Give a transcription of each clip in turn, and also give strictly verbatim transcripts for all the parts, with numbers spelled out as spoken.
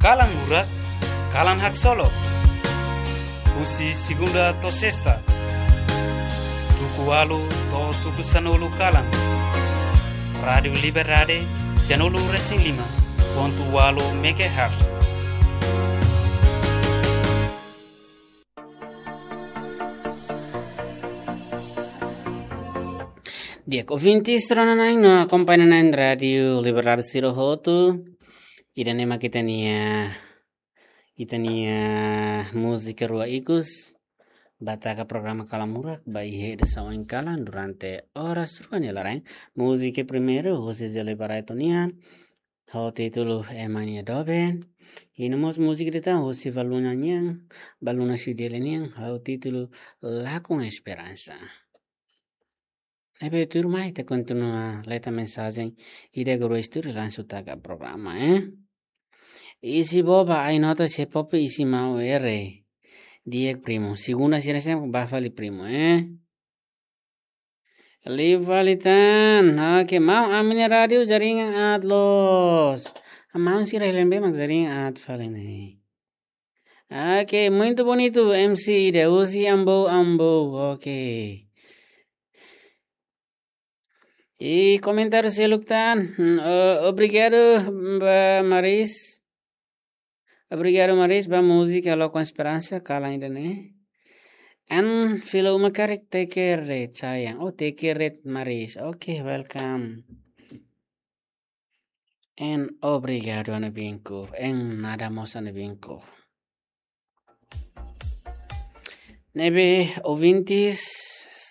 Kalan Murak, kalan haksolok. Husi segunda to'o sesta, tuku ualu to'o tuku sanulu kalan. Rádiu Liberdade, sanulu resin lima pontu ualu megahertz. Di'ak, ouvintes rona-na'in no akompaña na'in Rádiu Liberdade sira hotu. Ida-ne'e mak ita-nia, ita-nia múzika rua ikus ba taka programa Kalan Murak ba iha edisaun oin kalan durante oras rua nia laran. Múzika primeiru husi Zé Liberato nian, ho títulu Ema nia Doben. I no mós múzika ida tan husi Valuna nian, Valuna Xudele nian, ho títulu Lakon Esperansa. Ne'ebé tuirmai ita kontinua leta mensajen ida ka rua iha estúdiu, langsung taka programa, eh. Isi boba ai nota se popi isi mau ere. Di'ak primu. Segunda sira sem ba fali primu, eh. Liu fali tan. Oke, maun, ami-nia rádiu jaringan aat loos. Maun sira helen be mak jaringan aat fali ne'e. Oke, muito bonito, M C ida husi Ambou, Ambou. Oke. I komentáriu seluk tan. Hmm, eh, obrigadu ba Maris. Obrigadu Maris ba múzika Lakon Esperansa, kalan ida-ne'e. An fila uma karik Tekere Sayang. Oh, Tekere Maris. Oke, welcome. En obrigadu, ha'u-nia binku. En nada mós, ha'u-nia binku. Ne'ebé ouvintes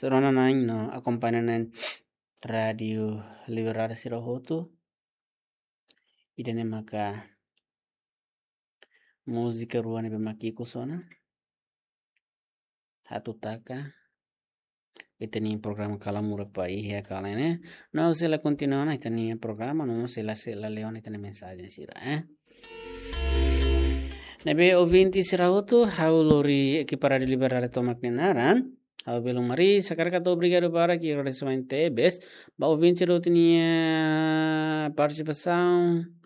rona-na'in no akompaña na'in Rádiu Liberdade sira hotu. Ida-ne'e maka múzika rua ne'ebé mak ikus ona. Atu taka ita-nia programa Kalan Murak ba iha kalan ne'e. No sei la kontinua ona ita-nia programa, no sei la, sei la lee ona ita-nia mensajen sira, eh. Ne'ebé ouvinte sira hotu, ha'u lori ekipa Rádiu Liberdade tomak nia naran. Ha'u belun Maris, hakarak hato'o obrigadu barak i agradesimentu tebes ba ouvinte sira hotu nia partisipasaun.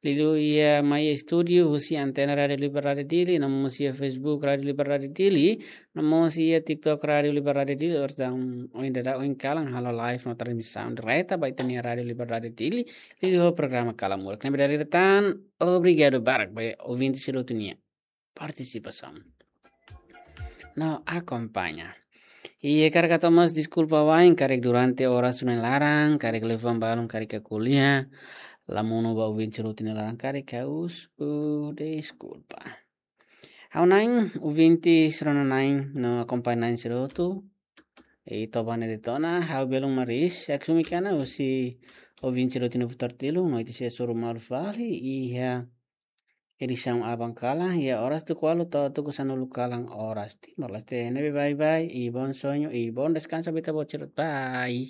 Liuliu iha mai estúdiu husi antena Rádiu Liberdade Dili, no mós iha Facebook Rádiu Liberdade Dili, no mós iha TikTok Rádiu Liberdade Dili, portantu oin dada oin kalan halo live no transmisaun direta ba ita-nia Rádiu Liberdade Dili, liuliu ho programa Kalan Murak. Ne'ebé dala ida tan, obrigadu barak ba ouvinte sira hotu nia partisipasaun no akompaña. I hakarak hato'o mós deskulpa wa'in, karik durante oras rua nia laran, karik liafuan balun, karik ko'alia la monu ba ouvinte sira hotu nia laran, karik ha'u husu deskulpa. Ha'u-nia ouvinte sira rona-na'in no akompaña na'in sira hotu. I toba ne'e de'it ona, ha'u belun Maris, Yaksumi Kana, husi ouvinte sira hotu nia futar tilu, no ita sei hasoru malu fali iha edisaun aban kalan, iha oras tuku ualu to'o tuku sanulu kalan oras Timor-Leste. Ne'ebé bye bye, i bom sonho, i bom descanso ba ita-boot sira. Bye.